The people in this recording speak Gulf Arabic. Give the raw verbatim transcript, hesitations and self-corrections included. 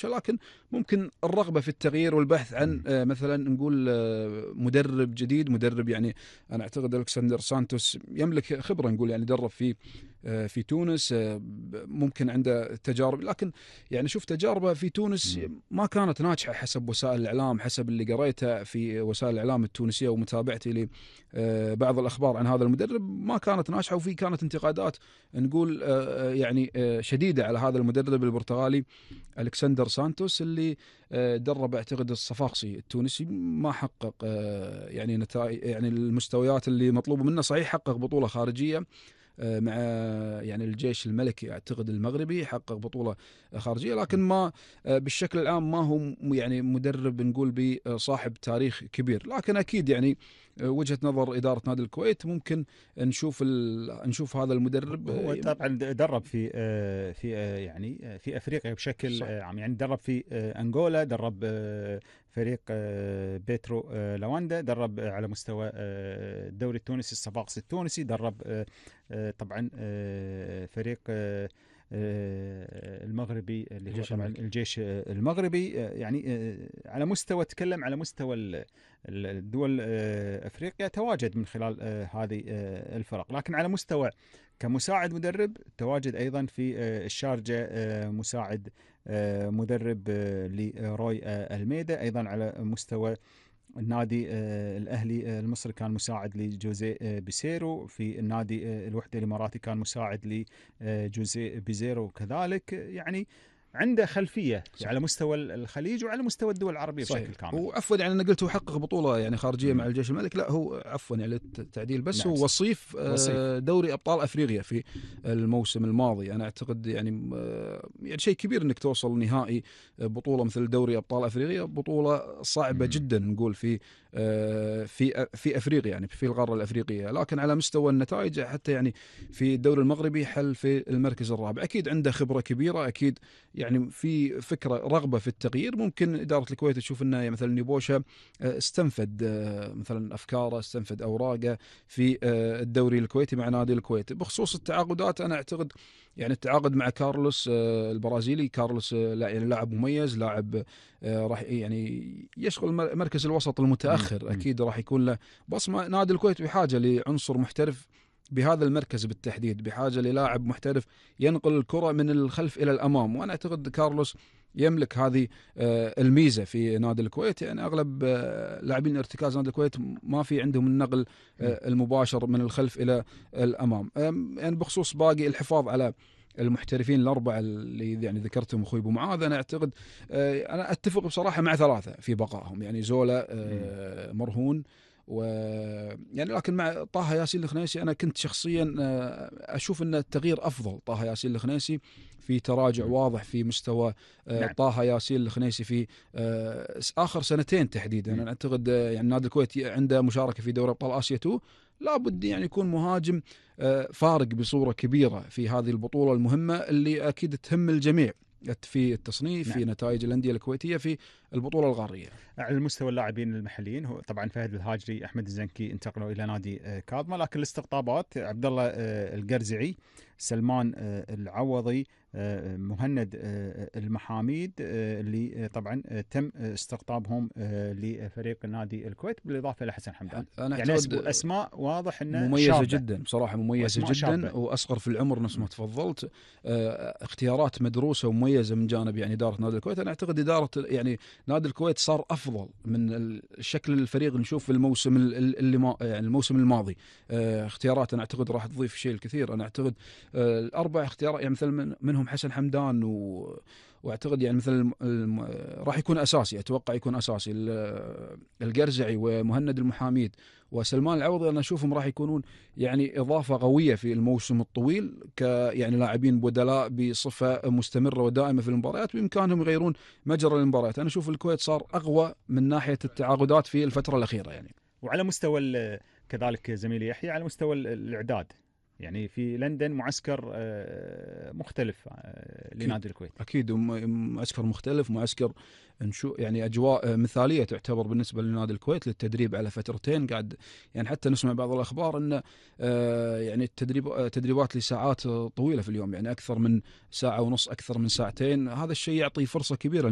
لكن ممكن الرغبة في التغيير والبحث عن إمم. آآ مثلًا نقول آه، مدرب جديد، مدرب يعني أنا أعتقد ألكسندر سانتوس يملك خبرة، نقول يعني درب في آآ في تونس، آآ ب ممكن عنده تجارب، لكن يعني شوف تجاربه في تونس إمم. ما كانت ناجحة حسب وسائل الإعلام، حسب اللي قريته في وسائل الإعلام التونسية ومتابعتي ل آآ بعض الأخبار عن هذا المدرب، ما كانت ناجحة، وفي كانت انتقادات نقول آآ يعني آآ شديدة على هذا المدرب البرتغالي ألكسندر سانتوس اللي آه، درب اعتقد الصفاقسي التونسي، ما حقق آه، يعني نتائج، يعني المستويات اللي مطلوبه منه. صحيح حقق بطولة خارجية آه، مع يعني الجيش الملكي اعتقد المغربي، حقق بطولة خارجية، لكن ما آه، بالشكل العام ما هو م- يعني مدرب نقول بصاحب تاريخ كبير. لكن اكيد يعني آه، وجهة نظر إدارة نادي الكويت ممكن نشوف ال... نشوف هذا المدرب هو آه، طبعا درب في آه، في آه، يعني آه، في افريقيا بشكل صح. آه، عام، يعني درب في آه، انغولا، درب آه، فريق آه، بيترو آه، لواندا، درب آه، على مستوى آه، الدوري التونسي الصفاقسي التونسي، درب آه، آه، طبعا آه، فريق آه، آه، المغربي اللي هو الجيش طبعا الملكي. الجيش آه، المغربي، آه، يعني آه، على مستوى، تكلم على مستوى ال- ال- الدول آه، افريقيا، تواجد من خلال آه، هذه آه، الفرق. لكن على مستوى كمساعد مدرب، تواجد أيضا في آه، الشارجة آه، مساعد آه، مدرب آه، لروي آه، الميدا. أيضا على مستوى النادي آه، الأهلي آه، المصري كان مساعد لجوزيه آه، بيسيرو. في النادي آه، الوحدة الإماراتي كان مساعد لجوزيه بيزيرو كذلك. يعني عنده خلفية صح. على مستوى الخليج وعلى مستوى الدول العربية صحيح. بشكل كامل. وعفوا يعني انا قلت هو حقق بطوله يعني خارجيه مع مم. الجيش الملكي، لا هو عفوا يعني التعديل، بس نعم هو صح. وصيف وصيف. آه، دوري ابطال افريقيا في الموسم الماضي. انا اعتقد يعني آه، يعني شيء كبير انك توصل نهائي بطوله مثل دوري ابطال افريقيا، بطوله صعبه مم. جدا نقول في آه، في في افريقيا، يعني في القاره الافريقيه. لكن على مستوى النتائج حتى يعني في الدوري المغربي حل في المركز الرابع. اكيد عنده خبره كبيره، اكيد يعني في فكره رغبه في التغيير. ممكن اداره الكويت تشوف انه مثلا نيبوشا آه، استنفد آه، مثلا افكاره، استنفد اوراقه في آه، الدوري الكويتي مع نادي الكويت. بخصوص التعاقدات انا اعتقد يعني التعاقد مع كارلوس آه، البرازيلي، كارلوس آه، لا يعني لاعب مميز، لاعب آه، راح يعني يشغل مر- مركز الوسط مم. المتاخر، مم. اكيد راح يكون له بصمه. نادي الكويت بحاجه لعنصر محترف بهذا المركز بالتحديد، بحاجه للاعب محترف ينقل الكره من الخلف الى الامام، وانا اعتقد كارلوس يملك هذه آه، الميزه في نادي الكويت. يعني اغلب آه، لاعبين ارتكاز نادي الكويت ما في عندهم النقل مم. آه، المباشر من الخلف الى الامام. آم، يعني بخصوص باقي الحفاظ على المحترفين الاربعه اللي يعني ذكرتهم اخوي ابو معاذ، انا اعتقد آه، انا اتفق بصراحه مع ثلاثه في بقائهم، يعني زولا مم. آه، مرهون و يعني. لكن مع طه ياسين الخنيسي انا كنت شخصيا آه، اشوف ان التغيير افضل. طه ياسين الخنيسي في تراجع مم. واضح في مستوى آه، نعم. طه ياسين الخنيسي في آه، اخر سنتين تحديدا. مم. انا اعتقد آه، يعني نادي الكويت عنده مشاركه في دوري ابطال اسيا تو، لابد يعني يكون مهاجم آه، فارق بصوره كبيره في هذه البطوله المهمه اللي اكيد تهم الجميع في التصنيف، نعم. في نتائج الانديه الكويتيه في البطوله القاريه. على المستوى اللاعبين المحليين، هو طبعا فهد الهاجري، احمد الزنكي انتقلوا الى نادي آه، كاظمه. لكن الاستقطابات عبد الله آه، القرزعي، سلمان آه، العوضي، آه، مهند آه، المحاميد، آه، اللي آه، طبعا آه، تم استقطابهم آه، لفريق نادي الكويت، بالاضافه الى حسن حمدان. انا يعني أسب- اعتقد اسماء واضح انها مميزة شابه، جدا بصراحة، مميزة واسماء جدا، شابه. وأصغر في العمر نفس ما م- تفضلت. آه، اختيارات مدروسة ومميزة من جانب يعني إدارة نادي الكويت. أنا أعتقد إدارة يعني نادي الكويت صار أفضل من الشكل الفريق نشوف في الموسم ال- ال- اللي ما يعني الموسم الماضي. آه، اختيارات أنا أعتقد راح تضيف شيء الكثير. أنا أعتقد آه، الأربع اختيارات يعني مثل من منهم حسن حمدان و واعتقد يعني مثل الم... الم... راح يكون اساسي، اتوقع يكون اساسي ال- القرزعي ومهند المحاميد وسلمان العوضي. انا اشوفهم راح يكونون يعني اضافه قويه في الموسم الطويل، ك يعني لاعبين بدلاء بصفه مستمره ودائمه في المباريات، بامكانهم يغيرون مجرى المباريات. انا اشوف الكويت صار اقوى من ناحيه التعاقدات في الفتره الاخيره يعني. وعلى مستوى ال- كذلك زميلي يحيى، على مستوى ال- الاعداد، يعني في لندن معسكر مختلف لنادي الكويت. اكيد معسكر مختلف، معسكر نشو يعني اجواء مثاليه تعتبر بالنسبه لنادي الكويت للتدريب على فترتين. قاعد يعني حتى نسمع بعض الاخبار ان يعني التدريب تدريبات لساعات طويله في اليوم، يعني اكثر من ساعه ونص، اكثر من ساعتين. هذا الشيء يعطي فرصه كبيره